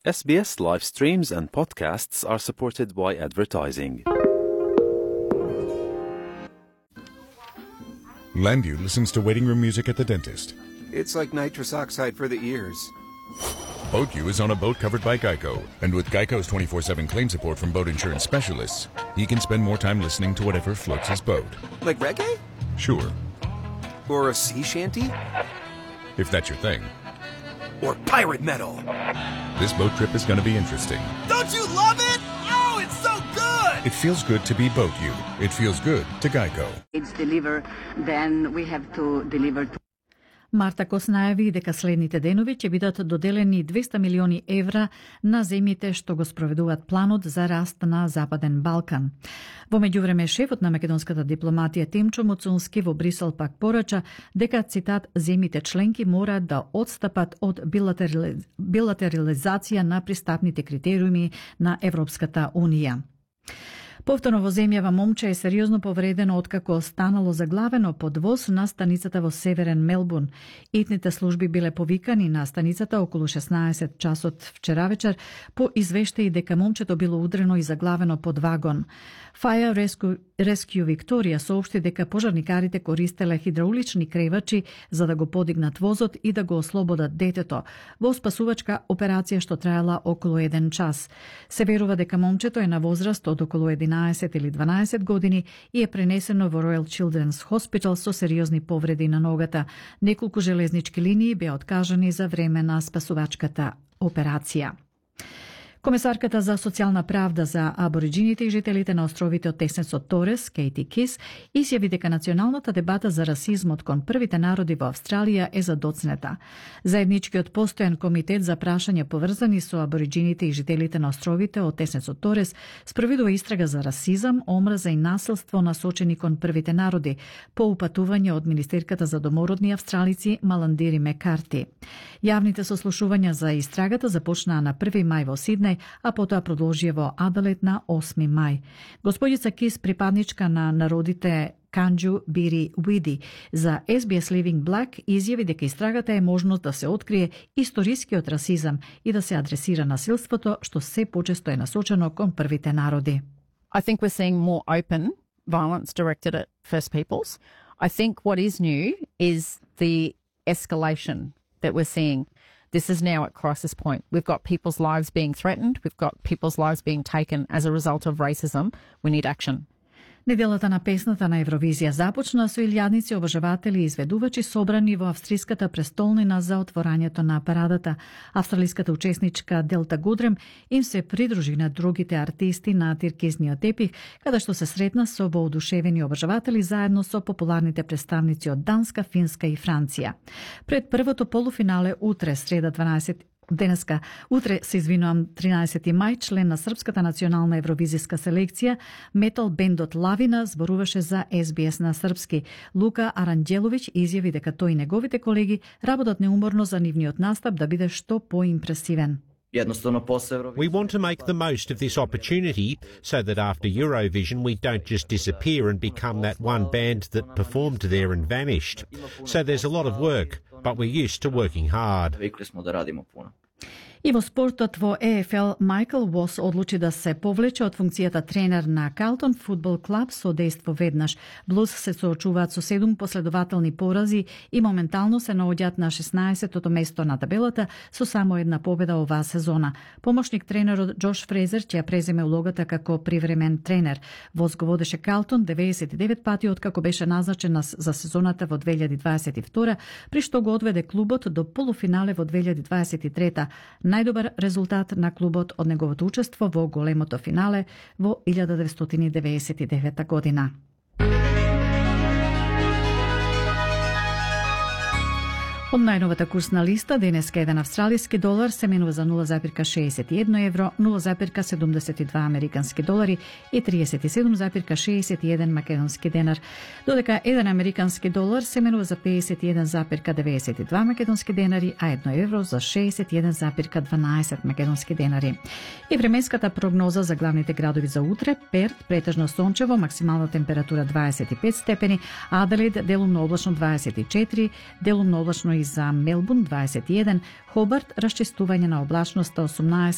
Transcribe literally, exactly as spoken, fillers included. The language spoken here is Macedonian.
S B S live streams and podcasts are supported by advertising. Landview listens to waiting room music at the dentist. It's like nitrous oxide for the ears. BoatU is on a boat covered by Geico, and with Geico's twenty-four seven claim support from boat insurance specialists, he can spend more time listening to whatever floats his boat. Like reggae? Sure, Or a sea shanty? if that's your thing. Or pirate metal? This boat trip is going to be interesting. Don't you love it? Oh, it's so good! It feels good to be BoatU. It feels good to Geico. It's delivered, then we have to deliver to Марта Кос најави дека следните денови ќе бидат доделени двеста милиони евра на земјите што го спроведуваат планот за раст на Западен Балкан. Во меѓувреме, шефот на македонската дипломатија Тимчо Муцунски во Брисел пак порача дека, цитат, земјите членки мораат да одстапат од билатерали... билатерализација на пристапните критериуми на Европската Унија. Повторно во земјава момче е сериозно повредено откако станало заглавено под воз на станицата во Северен Мелбурн. Итните служби биле повикани на станицата околу шеснаесет часот вчера вечер по извештаи дека момчето било удрено и заглавено под вагон. Fire Rescue, Rescue Victoria соопшти дека пожарникарите користеле хидраулични кревачи за да го подигнат возот и да го ослободат детето во спасувачка операција што траела околу еден час. Се верува дека момчето е на возраст од околу единаесет или дванаесет години и е пренесено во Royal Children's Hospital со сериозни повреди на ногата. Неколку железнички линии беа откажани за време на спасувачката операција. Комесарката за социјална правда за абориджините и жителите на островите од Теснецот Торес, Кейти Кис, изјави дека националната дебата за расизмот кон првите народи во Австралија е задоцнета. Заедничкиот постојан комитет за прашања поврзани со абориджините и жителите на островите од Теснецот Торес спроведува истрага за расизам, омраза и насилство насочени кон првите народи, по упатување од министерката за домородни австралици Маландири Мекарти. Јавните сослушувања за истрагата започнаа на први мај во Сиднеј, а потоа продолжија во Аделаид на осми мај. Господица Кис, припадничка на народите Канџу Бири Уиди за С Б С Living Black, изјави дека истрагата е можност да се открие историскиот расизам и да се адресира насилството што се почесто е насочено кон првите народи. I think we're seeing more open violence directed at First Peoples. I think what is new is the escalation that we're seeing. This is now at crisis point. We've got people's lives being threatened. We've got people's lives being taken as a result of racism. We need action. Неделата на песната на Евровизија започна со илјадници обожаватели и изведувачи собрани во австриската престолнина за отворањето на парадата. Австралиската учесничка Делта Гудрем им се придружи на другите артисти на тиркизниот тепих, каде што се сретна со воодушевени обожаватели заедно со популарните представници од Данска, Финска и Франција. Пред првото полуфинале утре, среда дванаесет Денеска, утре се извинувам тринаесети мај, член на Српската национална евровизиска селекција, метал бендот Лавина зборуваше за С Б С на српски. Лука Аранđеловиќ изјави дека тој и неговите колеги работат неуморно за нивниот настап да биде што поимпресивен. We want to make the most of this opportunity so that after Eurovision we don't just disappear and become that one band that performed there and vanished. So there's a lot of work, but we're used to working hard. И во спортот во Е Ф Л, Майкл Уос одлучи да се повлече од функцијата тренер на Калтон фудбал клуб со дејство веднаш. Блуз се соочуваат со седум последователни порази и моментално се наоѓаат на шеснаесеттото место на табелата со само една победа оваа сезона. Помошник тренерот Џош Фрезер ќе ја преземе улогата како привремен тренер. Уос го водеше Калтон деветдесет и девет пати откако беше назначен за сезоната во две илјади дваесет и втора, при што го одведе клубот до полуфинале во две илјади дваесет и трета. Најдобар резултат на клубот од неговото учество во големото финале во илјада деветстотини деветдесет и девета година. Од најновата курсна листа, денеска еден австралиски долар се менува за нула запирка шеесет и едно евро, нула запирка седумдесет и два американски долари и триесет и седум запирка шеесет и еден македонски денар, додека еден американски долар се менува за пеесет и еден запирка деветдесет и два македонски денари, а едно евро за шеесет и еден запирка дванаесет македонски денари. И временската прогноза за главните градови за утре: Перт претежно сончево, максимална температура дваесет и пет степени, Аделаид делумно облачно дваесет и четири, делумно облачно и за Мелбурн дваесет и еден, Хобарт расчистување на облачноста осумнаесет